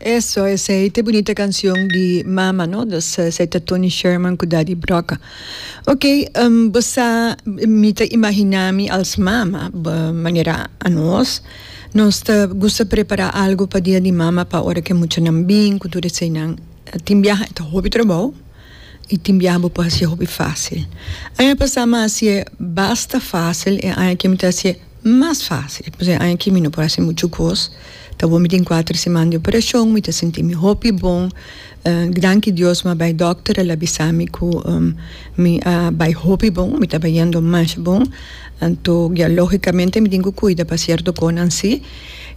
Eso, esey ta e bunita cancion di mama, no? Dus esey ta Tony Sherman cu Daddy Broca. Ok, bo sa, mi ta imagina mi als mama, manera anos, nos ta gusta prepara algo pa dia di mama pa ora cu e muchanan bin cu tur eseynan. Tin biaha e ta hopi trabou y tin biaha bo por hacié hopi facil. Aña pasa mi a hacié basta facil, e aña aki mi ta hacié mas facil. Pasobra e aña aki mi no por haci mucho cos. Ta bo mi tin cuater siman di operacion, mi ta sinti mi hopi bon. Danki Dios mi a bay dokter, el a bisa mi cu mi a bay hopi bon, mi ta bayendo masha bon. Anto ya logicamente mi tin cu cuida pa cierto conan si.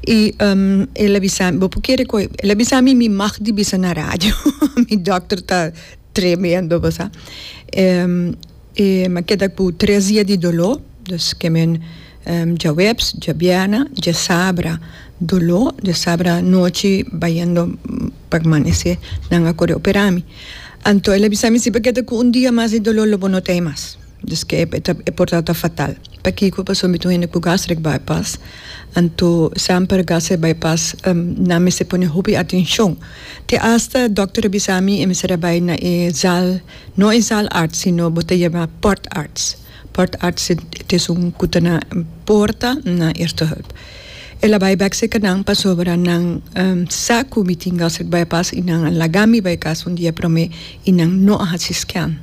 Y el a bisa mi, bo por kere cu el a bisa mi mi mag di bisa na radio. Mi dokter ta tremendo bo sa. E mi a keda ku tres dia di doló, dus ke men djaweps, djabièrnè, djasabra doló, djasabra anochi bayendo pa amanesé nan a kore operá mi. Anto el a bisa mi si bo keda ku un dia mas di doló lo bo no ta ei mas. Dus ke e por tabata fatal. Pakiko? Pasobra mi ta un hende ku gastric bypass, anto semper gastric bypass nan mester pone hopi atenshon. Te asta dòkter a bisa mi e mester a bai na e zaal. No e zaalarts sino bo ta yama poortarts. Poortarts ta esun ku ta na porta na eerste hulp. El a bai bek serka nan pasobra nan sa ku mi tin gastric bypass i nan a laga mi bai kas un dia prome i nan no a hasi scan.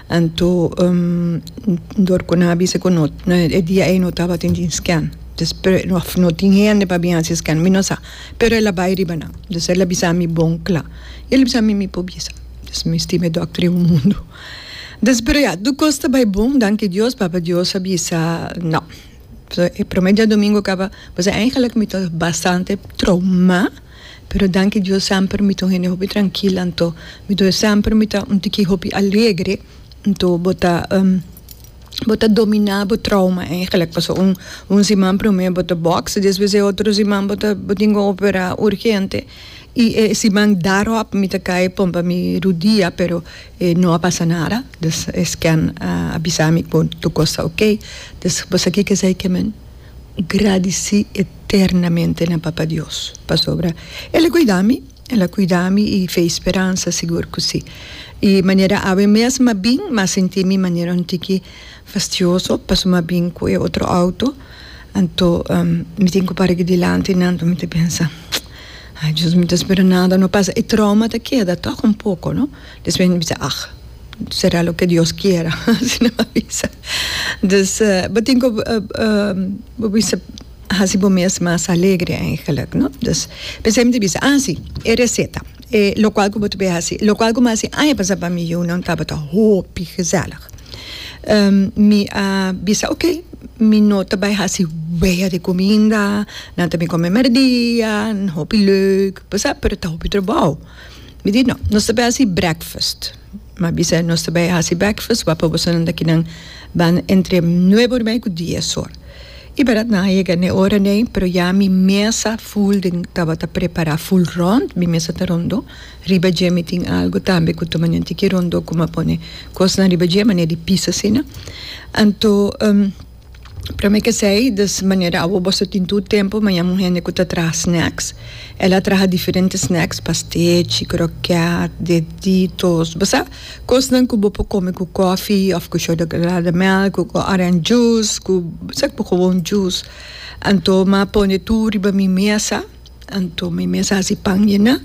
Anto dor ku nan a bisa ku no e dia ei no tabatin tin scan. Of no tin hende pa bin hasi scan mi no sa. Pero el a bai riba nan. Dus el a bisa mi bon kla. El a bisa mi mi por bisa. Dus mi stima e dokter e un mundu. Dus pero ya, tur kos ta bai bon, danki Dios, Papa Dios a bisa no. So e prome djadomingo kaba, pues eigenlijk mi ta bastante trauma, pero danki Dios semper mi ta un hende hopi trankil, anto mi ta semper mi ta un tiki hopi alegre, anto bo ta bo ta domina bo trauma eigenlijk, pasobra un un siman prome bo ta box, despues e otro siman bo ta bo tin ku opera urgente. I e siman daarop mi ta kai pompa mi rudia pero e no a pasa nada dus e scan a bisa mi ku tur kos ta ok dus bo sa kiko esei ke men gradisi eternamente na papa Dios pasobra el a kuida mi el a kuida mi i fe i speransa sigur ku si i manera awe mes mi a bin mi a sinti mi manera un tiki fastioso pasobra mi a bin ku e otro auto anto mi tin ku para aki dilanti nan anto mi ta pensa. Ay Dios mi ta spera nada no pasa e trauma ta keda toch un poco no despues mi bisa ag sera lo ke Dios kiera asina mi a bisa dus bo tin ku bo bisa hasi bo mes mas alegre eigenlijk no dus p'esei mi ta bisa ah si e receta e lokual ku bo ta bay hasi lokual ku mi a hasi aña pasa pa mi yunan tabata hopi gezellig. Mi a bisa ok, mi no ta bai hasi wea di kuminda, nan ta bin kome merdia, hopi leuk, bo sa, pero ta hopi trabou. Mi di no, nos ta bai hasi breakfast. Mi a bisa nos ta bai hasi breakfast, wak pa bosonan ta kinan ban entre nuebe or mei ku dies or. I bèrdat nan a yega n'e ora nei, pero ya mi mesa ful den tabata prepará ful rònt, mi mesa ta rondó. Riba dje mi tin algo tambe ku ta manera tiki rondó ku mi a pone kosnan riba dje manera di pis asina. Anto prome kesei des manera awo boso tin tur tempu maña un hende ku ta traha snacks. El a traha diferente snacks, pastechi, kroket, deditos, bo sa kosnan ku bo por kome ku kofi òf ku chocolade melk, ku orange juice, ku bo sa ku gewoon juice. Anto mi a pone tur riba mi mesa. Anto mi mes a hasi pan yena.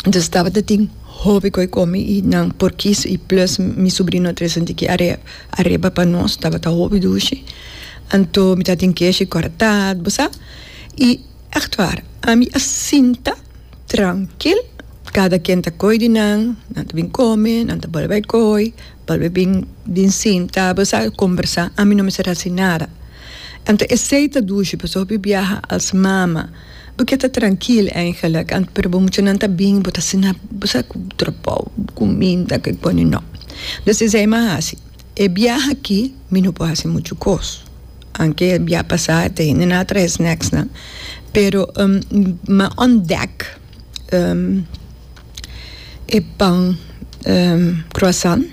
Entonces tabata tin hopi koe komi i nan por kis i plus mi sobrino a trese un tiki areba pa nos, tabata hopi dushi. Anto mi tabatin keshi kòrtá, bo sa. I ègt waar, ami a sinta trankil, kada ken ta koi di nan, nan ta bin kome, nan ta bolbe bai koi, bolbe bin bin sinta, bo sa, kombersá, ami no mester hasi nada. Anto esey ta dushi pasobra hopi biaha als mama bo ke ta trankil eigenlijk anto pero bo muchanan ta bin bo ta asina bo sa ku trabou kuminda ke pone no. Dus esey mi a hasi e biaha aki mi no por hasi muchu kos anke e biaha pasa ta hende nan a trahe snacks nan pero mi a ontdek e pan croissant.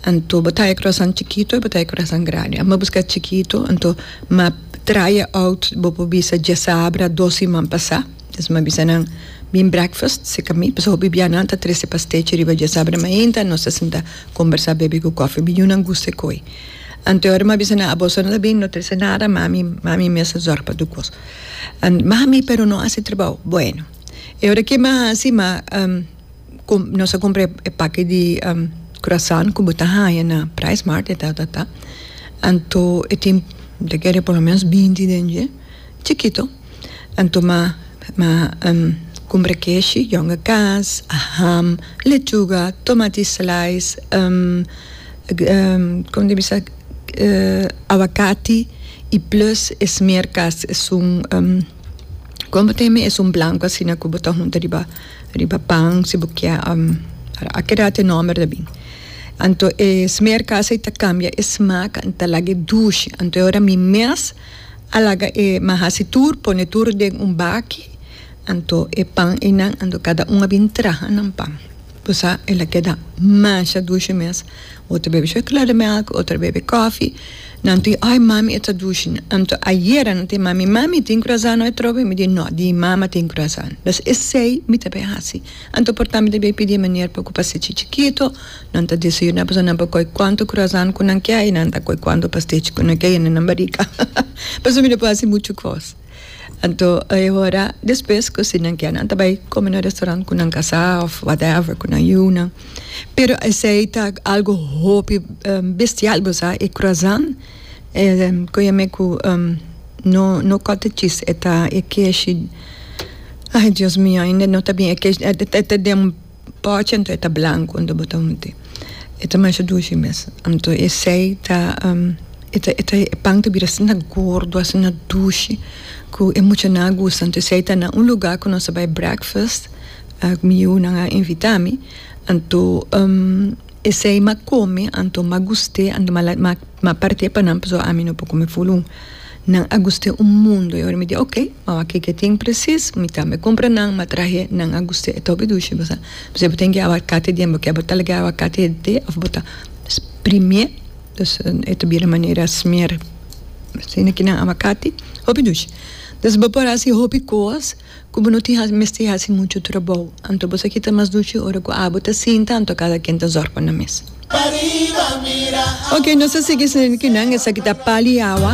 Anto bo ta e croissant chikito y bo ta e croissant grandi. Ami a busca chikito, anto m'a. try e out bo por bisa djasabra dos siman pasá. Des mi a bisa nan bin breakfast seka mi pasobra hopi bia nan ta trese pastechi riba djasabra mainta nos ta sinta kombersá bebe ku kòfi mi yunan gusta e koi. Anto e ora mi a bisa nan aboso no ta bin no trese nada mami mami mes a zòrg pa tur kos. Mami pero no hasi trabou bueno e ora ke mi a hasi mi a nos a kumpra e paki di croissant ku bo ta haña na Pricemart e ta ta ta anto e tin mi ta kere por lo menos binti den dje chikito anto mi a kumpra keshi yonga kas ham lechuga tomati slice kon ta bisa awakati y plus e smeerkaas esun kon bo ta yama esun blanco asina ku bo ta hunta riba riba pan si bo kier a keda e nomber ta bin anto e smeerkaas ei ta kambia e smaak en ta laga e dushi anto e ora mi mes a laga e mi a hasi tur pone tur den un baki anto e pan einan anto kada un a bin traha nan pan. Bo sa el a keda masha dushi mes. Otro bebe chocolademelk, otro bebe koffie. Nan tin, ay mami e ta dushi. Anto ayera nan tin mami, mami tin croissant no atrobe? Mi di no, di mama tin croissant. Dus esey mi ta bay haci. Anto por ta mi ta bay pidi e meneer pa cu pastechi chikito. Nan ta desayuna pasobra nan por coy cuanto croissant cu nan kier y nan ta coy cuanto pastechi cu nan kier y nan barica. Pasobra mi no por haci mucho cos. Anto e ora despues ku si nan kier nan ta bai kome na restaurant ku nan kasá òf whatever ku nan yunan. Pero esei ta algu hopi bestial bo sa e croissant e ku yam'é ku no no cottage cheese e ta e keshi ai dios mio ainda no ta bien e keshi e ta den Pochi anto e ta blanco anto bo ta hunti. E ta masha dushi mes. Anto esey ta e ta e ta e pan ta bira asina gordo asina dushi cu e muchanan a gusta. Anto esey ta na un lugar cu nos a bay breakfast mi yunan a invita mi anto esey m'a come anto m'a gust'e anto m'a parti'e pa nan pasobra ami no por come ful un. Nan a gust'é un mundo. I ora mi di ok, ma wak kiko e tin presis, mi tambe kumpra nan, m'a trahe, nan a gust'é, e ta hopi dushi bo sa. Pasobra bo tin ki awakati den, bo ke bo ta laga e awakati hete òf bo ta sprimié, dus e ta bira manera smer asina ki nan awakati, hopi dushi. Dus bo por hasi hopi kos. Ku bo no tin hasi mester hasi muchu trabou. Anto bo sa kita mas dushi ora ku abo ta sinta anto kada ken ta zòrg pa nan mes. Ok nos ta sigui esaki nan esaki ta pali awa.